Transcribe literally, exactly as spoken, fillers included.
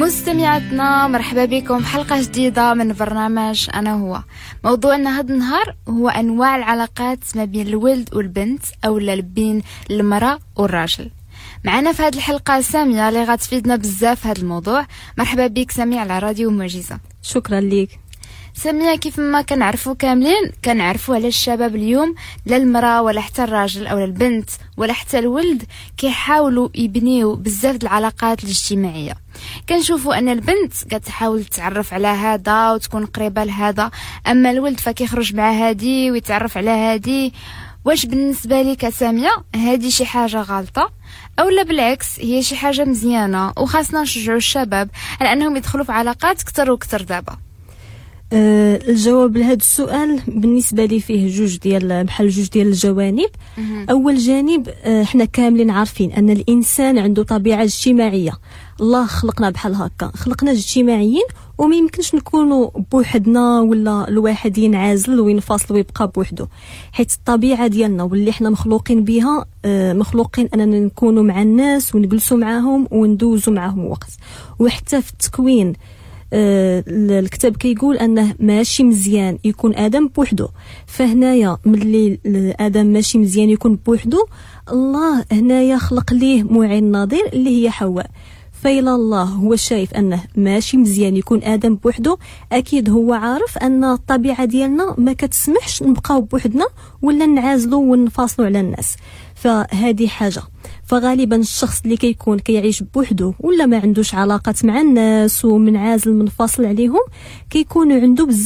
مستمعاتنا، مرحبا بكم في حلقة جديدة من برنامج أنا هو. موضوعنا هذا النهار هو أنواع العلاقات ما بين الولد والبنت أو بين المرأة والراجل. معنا في هذه الحلقة سامية اللي غتفيدنا بزاف في هذا الموضوع. مرحبا بك سامية على راديو معجزة. شكرا لك. سامية، كيف ما كنعرفوا كاملين، كنعرفوا على الشباب اليوم، لا المرأة ولا حتى الراجل أو البنت ولا حتى الولد كيحاولوا يبنيو بزاف د العلاقات الاجتماعية. كنشوفوا ان البنت كتحاول تتعرف على هذا وتكون قريبة لهذا، اما الولد فكيخرج مع هادي ويتعرف على هادي. واش بالنسبة لك سامية هادي شي حاجة غلطة او لا بالعكس هي شي حاجة مزيانة وخاصنا نشجعوا الشباب على انهم يدخلوا في علاقات اكثر واكثر دابا؟ أه الجواب لهذا السؤال بالنسبة لي فيه جوج ديال بحال جوج ديال الجوانب. اول جانب، أه حنا كاملين عارفين ان الانسان عنده طبيعة اجتماعيه. الله خلقنا بحال هكا، خلقنا اجتماعيين، وما يمكنش نكونوا بوحدنا ولا الواحد ينعزل وينفصل ويبقى بوحدو، حيت الطبيعة ديالنا واللي حنا مخلوقين بها آه، مخلوقين اننا نكونوا مع الناس ونجلسوا معاهم وندوزوا معاهم وقت. وحتى في التكوين آه، الكتاب كيقول انه ماشي مزيان يكون ادم بوحدو. فهنايا ملي ادم ماشي مزيان يكون بوحدو، الله هنايا خلق ليه معين نظير اللي هي حواء. فإلى الله هو شايف انه ماشي مزيان يكون ادم بوحدو، اكيد هو عارف ان الطبيعة ديالنا ما كتسمحش نبقاو بوحدنا ولا نعازلو ونفاصلوا على الناس. فهذه حاجه. فغالبا الشخص اللي كيكون كيعيش بوحدو ولا ما عندوش علاقات مع الناس ومنعازل منفصل عليهم، كيكون عنده بزاف